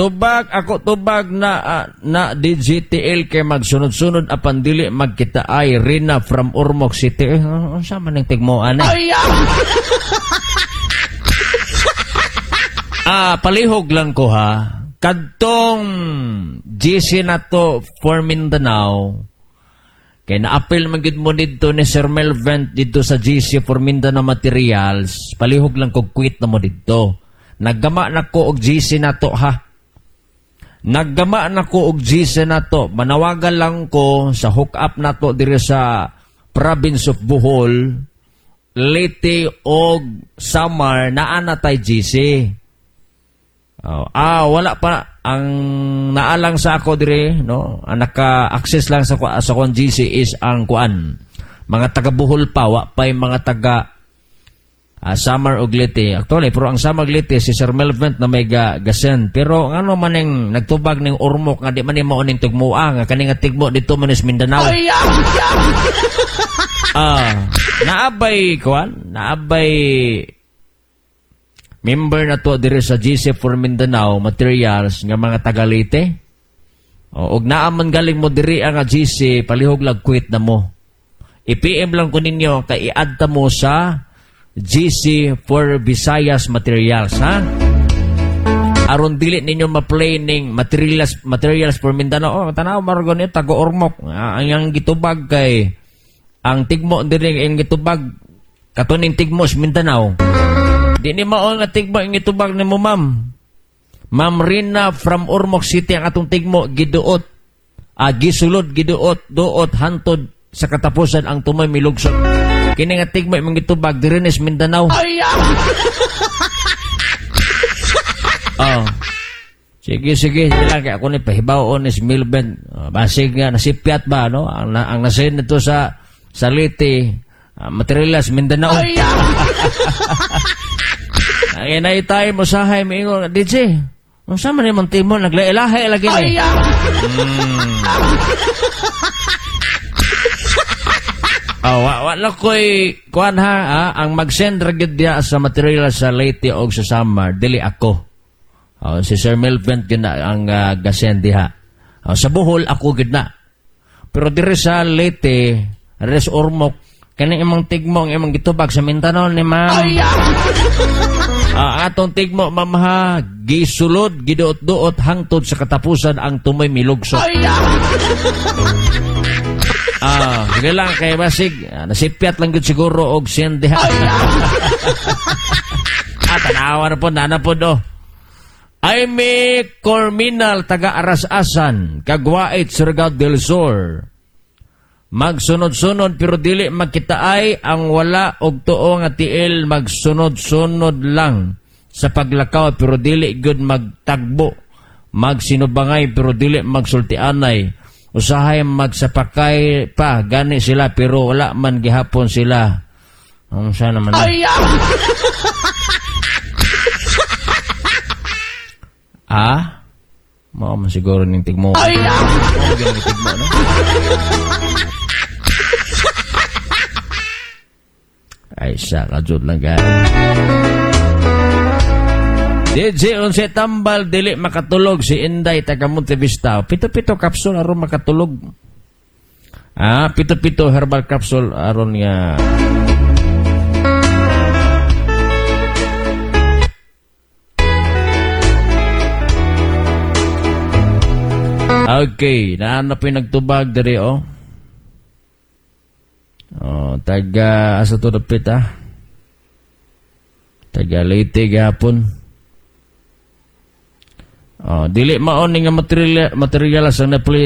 Tubag ako, tubag na na DGTL kay magsunod-sunod apan dili magkita ay Rina from Ormoc City. Eh, unsa man ning tigmoan eh? Palihog lang ko ha. Kadtong GC na to for Mindanao, kay naapil man gid mo didto ni Sir Melvin didto sa GC for Mindanao Materials, palihog lang ko quit na mo didto. Naggama na ko og GC na to ha. Naggama na ko og GC na to. Manawagan lang ko sa hook up na to diri sa province of Bohol, Leyte og Samar, naa na tay GC. Oh, wala pa ang naalang sa ako dire, no, ang naka-access lang sa kuan GC is ang kuan. Mga taga Bohol pa, wa pay mga taga Samar og Leyte. Actually, pero ang Samar og Leyte si Sir Melvin na may ga-send. Pero ngano man ning nagtubag ning Ormoc nga di man ni mao ning tugmoa nga kani nga tigmo dito man is Mindanao. Naabay kuan, naabay member na to diri sa GC for Mindanao Materials nga mga taga Leyte. O, og naa man galing mo diri ang GC, palihog lang quit na mo. I-PM lang ko ninyo kay i-add ta mo sa GC for Visayas Materials, ha? Aron dili ninyo ma-play ning materials for Mindanao. Oh, tanaw margo ni taga Ormoc. Ang yang gitubag kay ang tigmo diri ang gitubag katuning tigmo sa Mindanao. Di ni mao nga tigmo ang gitubag nimo, ma'am. Ma'am Rina from Ormoc City, ang atong tigmo giduot. Gisulod giduot duot hantod sa katapusan ang tumoy milugsot. Kini nga tigmo imong gitubag diri ni sa Mindanao. Oh. Sige, sige, sige lang kay ako ni pahibaw-on ni si Milben. Oh, basig nga nasipyat ba, no? Ang nasin nito sa Leyte, materials Mindanao. Ang inay tayo mo sahay miingon, DJ. Unsa man imong timo naglaelahe lagi ni. Oh, wa lang ko'y kuan ha, ang mag-send ra gyud diya sa material sa Leyte og sa Samar, dili ako. Oh, si Sir Melvin gyud na ang gasend diha. Oh, sa Bohol ako gyud na. Pero diri sa Leyte, res Ormoc, kani imong tigmo ang imong gitubag sa Mindanao ni ma'am. Atong tigmo, ma'am ha, gisulod giduot-duot hangtod sa katapusan ang tumoy milugsot. Sige lang kay basig, nasipyat lang gyud siguro og send diha. Tanawa na po, nana po do. Aimee Corminal, taga Aras-Asan, Kagwait, Surigao del Sur. Magsunod-sunod pero dili magkitaay ang wala og tuo nga tiil, magsunod-sunod lang sa paglakaw pero dili gyud magtagbo. Magsinubangay pero dili magsultianay. Usahay magsapakay pa gani sila pero wala man gihapon sila. Ang sa naman na? Mao man siguro ning tigmo. Mao gyud ning tigmo, no? Ay sa kajud lang ka. DJ unsa tambal dili makatulog si Inday taga Montevista. Pito-pito capsule aron makatulog. Pito-pito herbal capsule aron nga Okay, naana po yung nagtubag diri oh. Oh, taga asa to dapit ah. Taga Leyte gapon. Oh, dili mao ni nga material sa na-play.